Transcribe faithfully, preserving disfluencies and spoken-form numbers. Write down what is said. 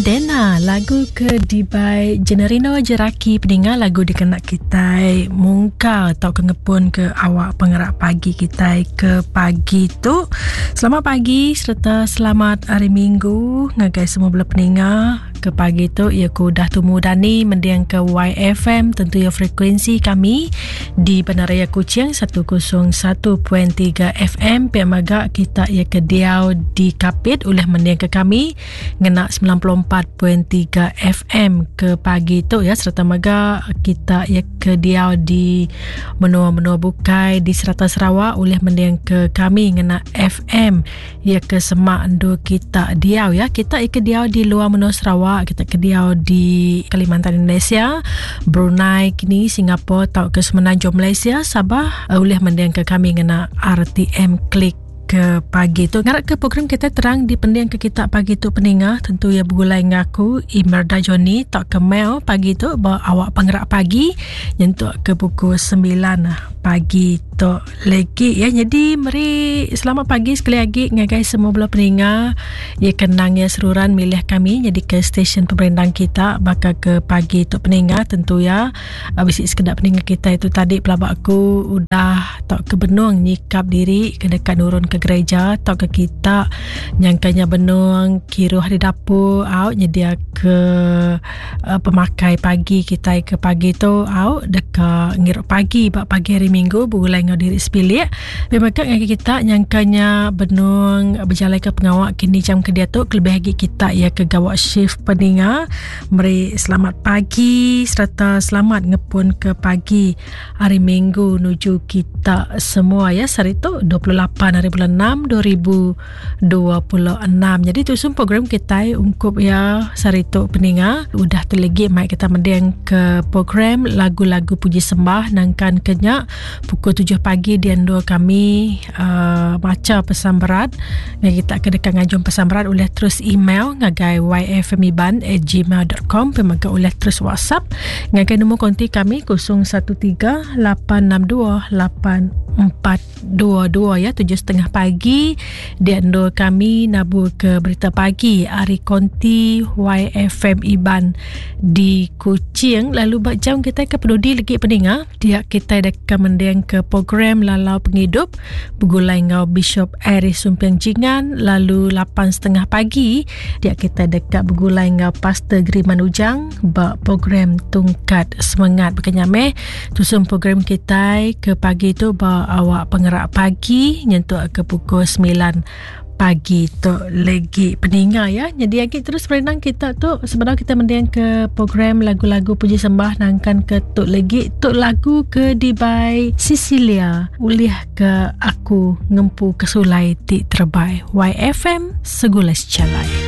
Dena lagu ke dibai Generino Jeraki peninga lagu dikena kita mungkal atau ke ngepun ke awak pengerak pagi kita ke pagi tu. Selamat pagi serta selamat hari Minggu ngagai semua bela peninga ke pagi tu. Ia ku dah tumu dani mendiang ke Y F M tentu ya frekuensi kami di Bandaraya Kuching seratus satu titik tiga F M. Pihak maga kita ia ke diau di Kapit oleh mendiang ke kami ngena sembilan puluh empat titik tiga F M ke pagi tu ya, serta maga kita ia ke diau di menua-menua bukai di serata Sarawak oleh mendiang ke kami ngena F M ia ke semak endur kita diau ya. Kita ia ke diau di luar menua Sarawak, kita ke diau di Kalimantan Indonesia, Brunei kini Singapura atau ke Semenanjung Malaysia, Sabah oleh mendiang ke kami ngena R T M Klik ke pagi tu. Ngarap ke program kita terang di pendiang ke kita pagi tu peninga tentu ya bergulai ngaku Imerda Johnny tak ke mail pagi tu ba awak penggerak pagi nyentuk ke pukul sembilan pagi tu lagi ya. Jadi meri selamat pagi sekali lagi ngagai semua bela peninga ya kenang ya seruran milih kami jadi ke stesen pemerindang kita bakal ke pagi tu peninga tentu ya bisi sekedar peninga kita itu tadi pelabak aku udah tak ke benung nyikap diri ke dekat nurun ke gereja atau ke kita nyangkanya benung kiruh di dapur au nyedia ke uh, pemakai pagi kita ke pagi tu au dekat ngirup pagi bak pagi hari Minggu bergulai ngau diri sebilik. Memang ngagai kita nyangkanya benung berjalan ke pengawak kini jam ke dia tu kelebih lagi kita ya ke gawak shift peninga. Meri selamat pagi serta selamat ngepun ke pagi hari Minggu nuju kita semua ya. Hari tu dua puluh lapan hari bulan enam dua ribu dua puluh enam. Jadi tu semua program kita ungkup ya hari tu peninga. Udah tu lagi mai kita mendeng ke program lagu-lagu puji sembah nangkan kenyak pukul tujuh pagi di ando kami uh, baca pesan berat. Ngai kita ke dekat ngajum pesan berat oleh terus email ngagai y f m iban at gmail dot com, pemaga oleh terus WhatsApp ngagai nombor konti kami kosong satu tiga lapan enam dua lapan empat dua dua ya. Tujuh setengah pagi di ando kami nabur ke berita pagi hari konti Y F M Iban di Kuching. Lalu bak jam kita ke peduli lagi peninga dia kita dekat mendeng ke program Lalau Penghidup bergulai ngau Bishop Aris Sumpiang Jingan. Lalu lapan setengah pagi dia kita dekat bergulai ngau Pastor Griman Ujang bak program Tungkat Semangat berkenyameh. Tusum program kita ke pagi tu bak awak pengerak pagi nyentuk ke pukul sembilan pagi tu lagi peninga ya. Jadi lagi terus berenang kita tu sebenarnya kita mendiang ke program lagu-lagu puji sembah nangkan ke tuk lagi tuk lagu ke dibai Sicilia ulih ke aku ngempu kesulai ti terbai. Y F M segula secalai.